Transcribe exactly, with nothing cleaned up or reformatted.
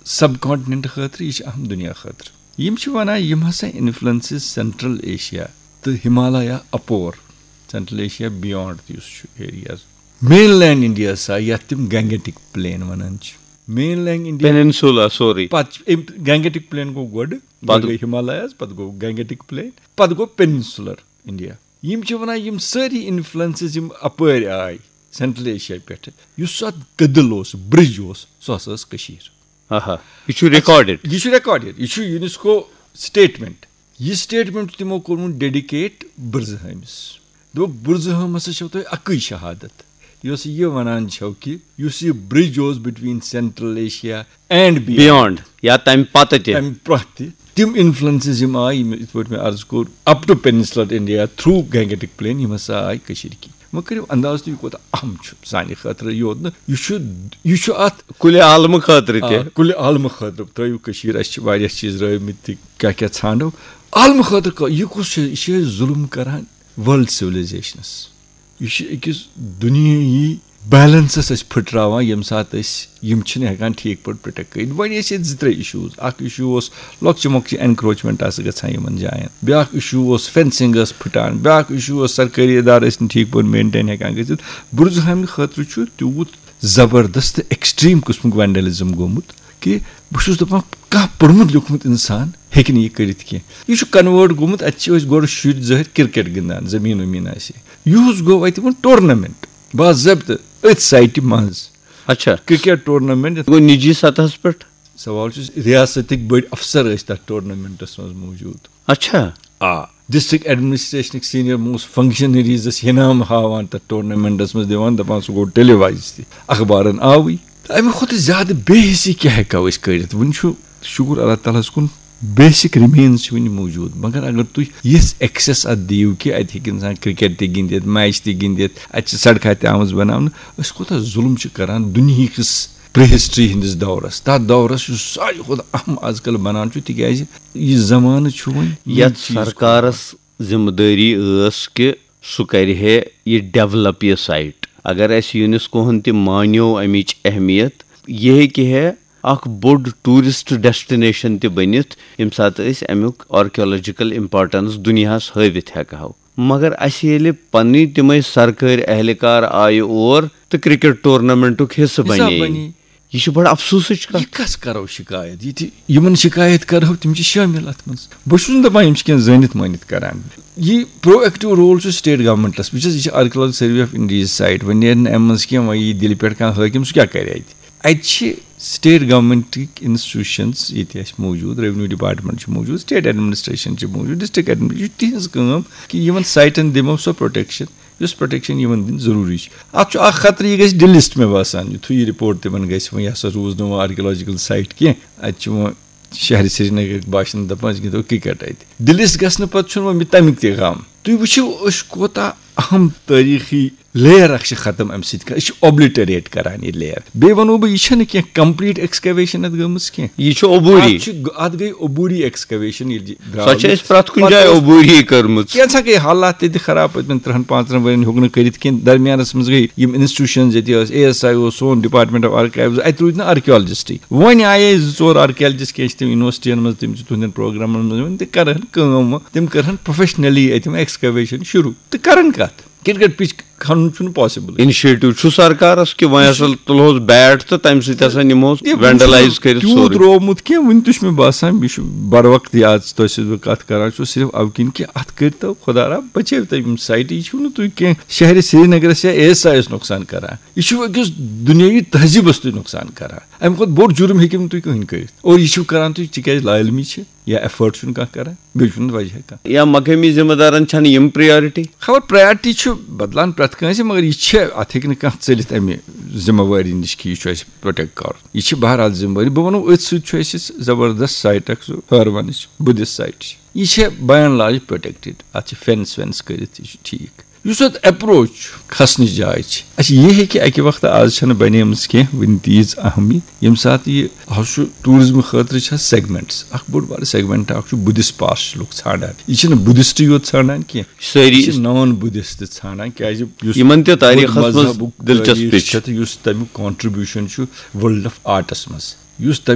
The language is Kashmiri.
سب کانٹیننٹ خٲطرٕ، یہِ چھِ اہم دُنیا خٲطرٕ۔ یِم چھِ وَنان، یِم ہسا انفلوئنسز سینٹرل ایشیا تہٕ ہمالیہ اپور، سینٹرل ایشیا بیانڈ تہِ یُس چھُ ایریاز، مین لینڈ انڈیا سا، یَتھ تِم گینگیٹک پلین وَنان چھِ، mainland India peninsula, sorry. پَتہٕ چھِ أمۍ، گینگیٹک پلین گوٚو گۄڈٕ، پَتہٕ گۄڈٕ گٔے ہمالیاز، پَتہٕ گوٚو گینگیٹک پلین، پَتہٕ گوٚو پیننسولر انڈیا۔ یِم چھِ وَنان، یِم سٲری انفلوئنسز یِم اپٲرۍ آے سینٹرل ایشیا پٮ۪ٹھٕ، یُس اَتھ کٔدٕل اوس، برج اوس، سُہ ہسا ٲس کٔشیٖر۔ آہا، یہِ چھُ ریکارڈڈ۔ یہِ چھُ ریکارڈڈ، یہِ چھُ یونیسکو سٹیٹمنٹ۔ یہِ سٹیٹمنٹ چھُ تِمو کوٚرمُت ڈیڈیکیٹ بُرزٕہٲمِس۔ دوٚپُکھ، بُرزٕہٲم ہسا چھو تۄہہِ اَکٕے شہادت، یۄس یہِ وَنان چھو کہِ یُس یہِ برج اوس between central Asia and beyond, یا تَمہِ پَتہٕ تہِ۔ تَمہِ پَتہٕ تہِ تِم انفلوئنسز یِم آیہِ، یِم، یِتھ پٲٹھۍ مےٚ عرض کوٚر، up to peninsular India through gangetic plain, یِم ہسا آیہِ کٔشیٖرِ کِنۍ۔ وۄنۍ کٔرِو انداز تُہۍ، یہِ کوٗتاہ اہم چھُ سانہِ خٲطرٕ یوت نہٕ، یہِ چھُ، یہِ چھُ اَتھ کُلہِ عالمہٕ خٲطرٕ تہِ۔ آ، کُلہِ عالمہٕ خٲطرٕ ترٲیِو کٔشیٖر، اَسہِ چھِ واریاہ چیٖز رٲومٕتۍ تہِ، کیٛاہ کیٛاہ ژھانڈو۔ عالمہٕ خٲطرٕ کَ-، یہِ کُس چھُ؟ یہِ چھُ اَسہِ ظُلُم کَران ورلڈ سِولایزیشنَس۔ یہِ چھُ أکِس دُنیٲیی بیلنسَس أسۍ پھٕٹراوان، ییٚمہِ ساتہٕ أسۍ یِم چھِنہٕ ہٮ۪کان ٹھیٖک پٲٹھۍ پروٹیکٹ کٔرِتھ۔ وۄنۍ ٲسۍ ییٚتہِ زٕ ترٛےٚ اِشوٗز۔ اَکھ اِشوٗ اوس لۄکچہِ مۄکچہِ اینکروچمنٹ آسہٕ گژھان یِمَن جایَن، بیٛاکھ اِشوٗ اوس فینسنگ ٲس پھٕٹان، بیٛاکھ اِشوٗ اوس سرکٲری ادارٕ ٲسۍ نہٕ ٹھیٖک پٲٹھۍ مینٹین ہٮ۪کان گٔژھِتھ۔ بُرزٕہامہِ خٲطرٕ چھُ تیوٗت زبردست تہٕ ایکسٹریم قٕسمُک وینڈلزم گوٚمُت کہِ بہٕ چھُس دَپان، کانٛہہ پوٚرمُت لیوٚکھمُت اِنسان ہیٚکہِ نہٕ یہِ کٔرِتھ کینٛہہ۔ یہِ چھُ کنوٲرٹ گوٚمُت، اَتہِ چھِ ٲسۍ گۄڈٕ شُرۍ زٕ ہَتھ کرکٹ گِنٛدان، زٔمیٖن ؤمیٖن آسہِ۔ یُہُس گوٚو اَتہِ وۄنۍ ٹورنامنٹ، باضٲبطہٕ أتھۍ سایٹہِ منٛز۔ اچھا۔ Cricket tournament. گوٚو نجی سطحس پٮ۪ٹھ؟ سوال چھُ، ریاستٕکۍ بٔڑۍ افسر ٲسۍ تَتھ ٹورنامنٹس منٛز موٗجوٗد۔ اچھا۔ آ، ڈسٹرکٹ ایڈمنسٹریشنٕکۍ سینئر موسٹ فنکشنریز ٲسۍ انعام ہاوان تَتھ ٹورنامنٹس منٛز، دِوان، دَپان، سُہ گوٚو ٹیلی وائز تہِ، اخبارن آوٕے۔ تہٕ اَمہِ کھۄتہٕ زیادٕ بے حسی کیٛاہ ہٮ۪کو أسۍ کٔرِتھ؟ وُنہِ چھُ، شُکُر اللہ تعالیٰ ہَس کُن، بیسک ریمینز چھِ وُنہِ موٗجوٗد۔ مگر اگر تُہۍ یِژھ ایکسیس اَتھ دِیِو کہِ اَتہِ ہیٚکہِ اِنسان کرکٹ تہِ گِنٛدِتھ، میچ تہِ گِنٛدِتھ، اَتہِ چھِ سڑکہٕ تہِ آمٕژ بناونہٕ، أسۍ کوٗتاہ ظُلُم چھِ کران دُنہِکِس پری ہسٹری ہٕنٛدِس دورس۔ تَتھ دورس یُس ساروی کھۄتہٕ اہم آز کل بنان چھُ، تِکیٛازِ یہِ زمانہٕ چھُ وۄنۍ یِم یتھ چیٖز سرکارس ذمہ دٲری ٲس کہِ سُہ کرِ ہے یہِ ڈیولپ یہِ سائٹ۔ اگر اسہِ یونیسکوہن تہِ مانیو امِچ اہمیت، یہِ ہیٚکہِ ہے اکھ بوٚڑ ٹورسٹ ڈیسٹینیشن تہِ بٔنِتھ، ییٚمہِ ساتہٕ أسۍ امیُک آرکیولوجیکل امپورٹنس دُنیاہس ہٲوِتھ ہٮ۪کہٕ ہو۔ مگر اسہِ ییٚلہِ پننی تِمے سرکٲرۍ اہلکار آیہِ اور تہٕ کرکٹ ٹورنامنٹُک حصہٕ حصہٕ بنے، بنے۔ یہِ چھِ بڑٕ افسوسٕچ کتھ۔ یہِ کس کرو شکایت؟ یہِ تہِ، یِمن شکایت کرو، تِم چھِ شٲمِل اتھ منٛز۔ بہٕ چھُس نہٕ دپان یِم چھِ کینٛہہ زٲنِتھ مٲنِتھ کران۔ یہِ پرو ایکٹیو رول چھُ سٹیٹ گورنمنٹس۔ وٕچھ حظ، یہِ چھِ آرکیولوجی سروے آف انڈیاہٕچ سائٹ۔ وۄنۍ نیرِ نہٕ امہِ منٛز کینٛہہ، وۄنۍ یی دِلہِ پٮ۪ٹھ کانٛہہ حٲکِم، سُہ کیٛاہ کرِ اتہِ؟ اتہِ چھِ سٹیٹ گورنمنٹٕکۍ انسٹیٹیوشنز ییٚتہِ اَسہِ موٗجوٗد، ریونیو ڈپارٹمنٹ چھُ موٗجوٗد، سٹیٹ ایڈمنسٹریشن چھِ موٗجوٗد، ڈسٹرکٹ ایڈمنسٹریشن، یہِ چھِ تِہنٛز کٲم کہِ یِمن سائٹن دِمو سۄ پروٹیکشن یُس پروٹیکشن یِمن دِنۍ ضروٗری چھِ۔ اتھ چھُ اکھ خطرٕ، یہِ گژھِ ڈِلسٹ، مےٚ باسان، یُتھُے یہِ رپورٹ تِمن گژھِ، وۄنۍ یہِ ہسا روٗز نہٕ وۄنۍ آرکیولوجیکل سائٹ کینٛہہ، اتہِ چھُ وۄنۍ شہرِ سرینگرٕکۍ باشندٕ دپان، أسۍ گِنٛدو کرکٹ اتہِ۔ ڈِلسٹ گژھنہٕ پتہٕ چھُنہٕ وۄنۍ مےٚ تمیُک تہِ غم۔ تُہۍ وٕچھِو، أسۍ کوٗتاہ اہم تٲریٖخی لیئر اکھ چھِ ختم امہِ سۭتۍ کران، أسۍ چھِ اوبلٹریٹ کران یہِ لیئر۔ بیٚیہِ ونو بہٕ، یہِ چھنہٕ کینٛہہ کمپلیٹ ایکسکیویشن اتھ گٔمٕژ کینٛہہ۔ یہِ چھُ عبوری۔ اتھ چھُ، اتھ گٔے عبوری ایکسکیویشن، ییٚلہِ یہِ درٛاو سۄ چھِ أسۍ پرٛٮ۪تھ کُنہِ پتہٕ جایہِ اوس، عبوری کٔرمٕژ۔ کینٛژھا گٔے حالات تہِ تہِ خراب پٔتمٮ۪ن ترٛہن پانٛژن ؤرین ہیوٚک نہٕ کٔرِتھ کینٛہہ۔ درمیانس منٛز گٔے یِم انسٹیٹیوشنز، ییٚتہِ ٲس اے ایس آئی اوس، سون ڈپارٹمنٹ آف آرکائیوز، اتہِ روٗدۍ نہٕ آرکیولوجسٹٕے۔ وۄنۍ آیے زٕ ژور آرکیالجسٹ، کینٛہہ چھِ تِم یونیورسٹین منٛز، تِم چھِ تُہنٛدٮ۪ن پروگرامن منٛز یِوان، تِم کرہن کٲم، تِم کرہن پروفیشنلی اتہِ یِم ایکسکیویشن شروٗع تہٕ کرن کتھ۔ کرکٹ پچ کھنُن چھُنہٕ پاسبل۔ انیشیٹو چھُ سرکارس کہِ وۄنۍ ہسا تُلہوس بیٹ تہٕ تمہِ سۭتۍ ہسا نِمہوس تہِ وۄنۍ چھُنہٕ وینڈلائز کٔرِتھ تیوٗت سورُے۔ روومُت کینٛہہ، وُنہِ تہِ چھُ مےٚ باسان، یہِ چھُ بر وقت یاد، تۄہہِ سۭتۍ بہٕ کتھ کران چھُس، صرف اَوٕ کِنۍ کہِ اتھ کٔرتو خۄدا را بچٲوتو یِم سایٹہٕ، یہِ چھُو نہٕ تُہۍ کینٛہہ شہرِ سرینگرس یا اے ایس آئی یس نۄقصان کران، یہِ چھُو أکِس دُنیٲیی تہذیٖبس تُہۍ نۄقصان کران۔ امہِ کھۄتہٕ بوٚڑ جُرم ہیٚکِو نہٕ تُہۍ کٕہٕنۍ کٔرِتھ۔ اور یہِ چھِو کران تُہۍ، تِکیازِ لا علمی چھِ۔ یا ایفٲرٹ چھُنہٕ کانٛہہ کران، بیٚیہِ چھُنہٕ وجہ کانٛہہ۔ یا مقٲمی ذمہ دارن چھنہٕ یِم پریارٹی؟ خبر پریارٹی چھُ بدلان پرٛٮ۪تھ کٲنٛسہِ، مگر یہِ چھِ، اتھ ہیٚکہِ نہٕ کانٛہہ ژٔلِتھ امہِ ذمہ وٲری نِش کہِ یہِ چھُ اسہِ پروٹیکٹ کرُن۔ یہِ چھِ بہرحال ذمہ وٲری۔ بہٕ ونو، أتھۍ سۭتۍ چھُ اسہِ زبردست سائٹ اکھ، سُہ ہٲروَنٕچ بدھسٹ سائٹ چھِ۔ یہِ چھےٚ بائی اینڈ لارج پروٹیکٹڈ، اتھ چھِ فینس وینس کٔرِتھ، یہِ چھُ ٹھیٖک۔ یُس اتھ اپروچ چھُ، کھسنٕچ جاے چھِ، اچھا، یہِ ہیٚکہِ اکہِ وقتہٕ، آز چھنہٕ بنیمٕژ کینٛہہ وُنہِ تیٖژ اہمی، ییٚمہِ ساتہٕ یہِ، آز چھُ ٹوٗرزم خٲطرٕ چھِ سیگمنٹس، اکھ بوٚڑ بارٕ سیگمنٹ اکھ چھُ بدھسٹ پاس چھِ لُکھ ژھانڈان، یہِ چھِنہٕ بدھسٹ یوت ژھانڈان کینٛہہ، سٲری یہِ چھِ نان بدھسٹ ژھانڈان، کیازِ یُس یِمن تہِ تٲریٖخس بُدھ منٛز مذہبُک دلچسپی تٲریٖخ چھِ۔ چھِ تہٕ یُس تمیُک کانٹریبیوشن چھُ ورلڈ آف آرٹس منٛز، یُس تمیُک